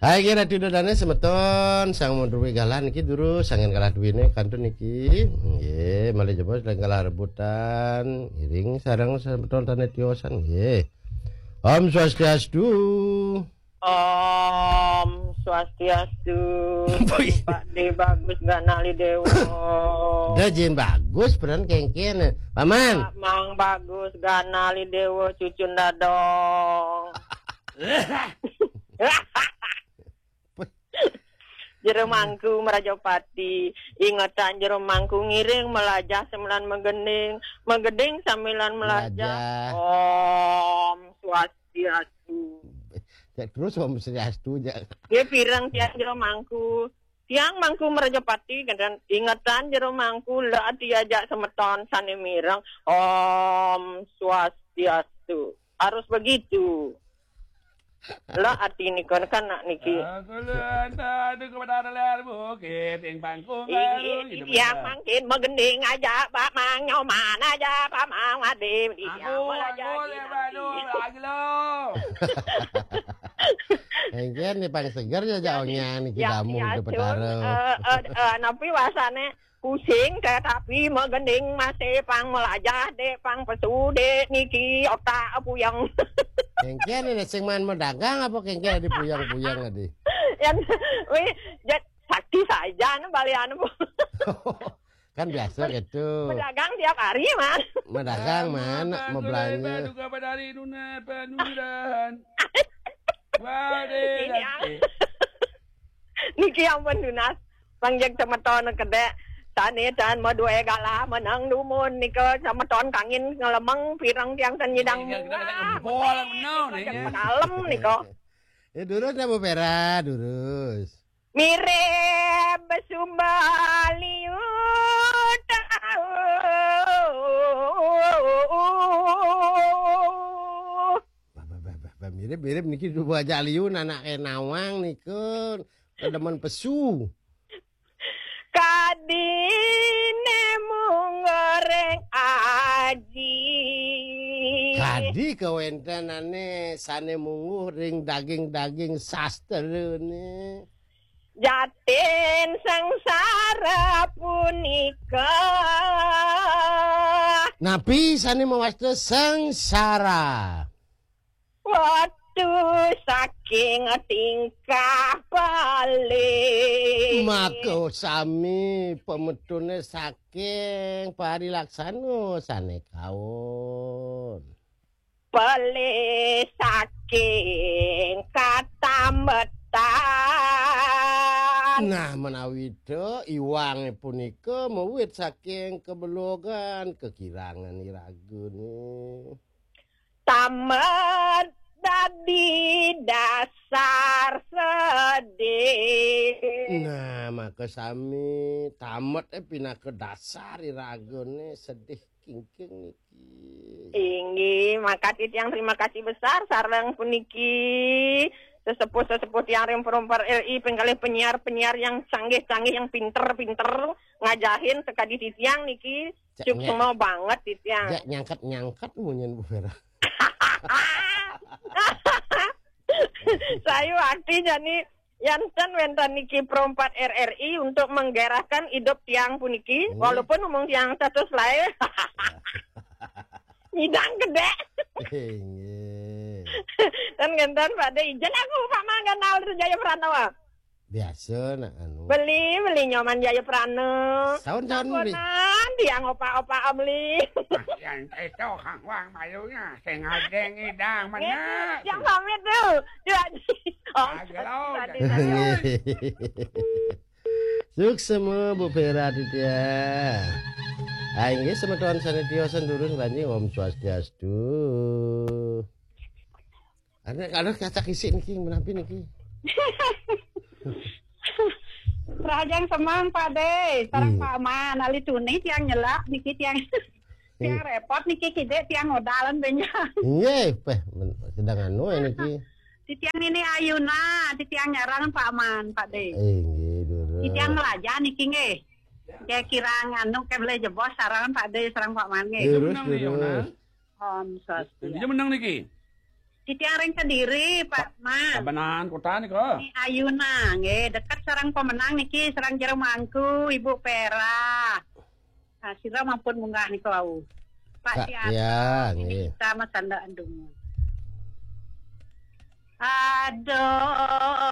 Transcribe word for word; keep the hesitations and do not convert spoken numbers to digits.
Hai, nggih, Ratu Dodane semeton, sang mundruwi galah niki durus, sangen galah duwine kantun niki. Nggih, malih jebos lan galah rebutan, iring sareng semeton sane tiosan, nggih. Om Swastiastu. Om Swastiastu. Pak De Bagus Ganali Dewa. Dah jin bagus peran kengken. Paman. Pak Mang Bagus Ganali Dewa cucun dadong. Jero Mangku Merajapati, ingetan Jero Mangku ngiring melajah samilan megending, megending samilan melajah. Melajah. Om Swastiastu. Cek terus Om Swastiastu, cek. Ya pireng tiang Jero Mangku. Tiang Mangku Merajapati, kemudian ingetan Jero Mangku, la diajak semeton sane mireng. Om Swastiastu. Harus begitu. Lah, arti nika kan nak niki. Aku lu anta adu kepada ler bukit ing pangkung. Iya, mangkin megending aja, Pak Mang Nyoman aja, Pak Mang Wadi. Aku, aku le badu lagi lo. Engken ni pang seger ya, jauhnya niki ya, tamu ya, di Betara. Eh, eh, eh, napi wasane? Pusing tetapi megending masih pang melajah, Dek, pang pesu, Dek, niki otak puyeng. Kengken ini sing man medagang apa kengken di puyeng-puyeng tadi? Yang, wih, jat, sakti saja nih balian, Bu. Kan biasa gitu. Pedagang tiap hari, Mas. Medagang, man, mau belanja. Juga pada hari nuna penuran. Wah, deh. Ini yang niki ampun nunas. Pangjak semeton kedek. Sane tan madue galah menang dumun nika semeton kangin ngelemeng pireng tiang ten nyidang. Iya, kita kena jempol, bener, nih, ya. Kalem nika. Ya, durus dah, Bu Vera, durus. Mirip besumbaliu tahu. Bah, bah, bah, bah, bah, mirip-mirip niki dua aja liun anake nawang niku. Demen pesu. Kadine mung goreng aji. Kadi kawentenane sane mungguh ring daging-daging sastrane. Jatin sengsara punika. Napi sane mawasta sengsara? Watu saking tingkah paling. Maka sami pametune saking parilaksana sane kaon. Pelih saking katambetan. Nah, menawi to iwange punika mawit saking kebelogan, kekirangan iragane. Tamet dadi dasar sedih. Nah, maka sami tamet, eh, pinaka dasar iragane sedih kingking niki. Inggih, maka titiang terima kasih besar sareng puniki sesepuh-sesepuh tiang ring Perumper R I, penggalih penyiar-penyiar yang canggih-canggih, yang pinter-pinter ngajahin sekadi titiang niki. Cek, suksma banget titiang. Cek nyangkat-nyangkat munyin Bu Vera. Sayu artinya nih, yanten wenten niki Perumpat R R I untuk menggairahkan hidup tiang puniki, hmm, walaupun umung tiang status lain. Nyidang gede. Inggih. Dan ngenten Pak De, ijen aku Pak Mangganal Jaya Pranowo. Biasa nak anu. Beli, beli Nyoman Jaya Pranowo. Saun, saun, beli. Sampunan tiang opak-opak beli. Nah, yang itu Kang Wang mayunya, sing ngadeng idang. Nggih, mana? Yang pamit tuh. Dua. Oh, agak lawan. Tadi, tadi. Suksma Bu Vera Aditya. Ah, inggih semeton sane tiosan durus banjing Om Swastiastu. Ana kalau kacak isik niki menapi niki. Rahajeng semeng Pak De, sareng, hmm, Pak Man, ali tuni tiang nyelak niki tiang. Tiang, iya, repot niki kidik tiang odalan benjang. Nggih, peh men-, sedang anu ya niki. Titiang ini Ayuna, titiang nyarang Pak Man, Pak De. Eh, nggih, durus. Titiang melajah niki nggih. Ya kirang anu ke boleh jebos sareng Pak De, sareng Pak Man nggih. Durus, durus. Om Swastiastu. Dia menang niki. Siti Areng Kediri, Pak Mas. Kabenan kota nika. Ni Ayuna, nggih, dekat sareng pemenang niki, sareng Jero Mangku, Ibu Pera. Nah, sira mampun munggah nika wau. Pak Ka- Sianto, ya, ini nggih. Kita Mas Anda Andung. Aduh,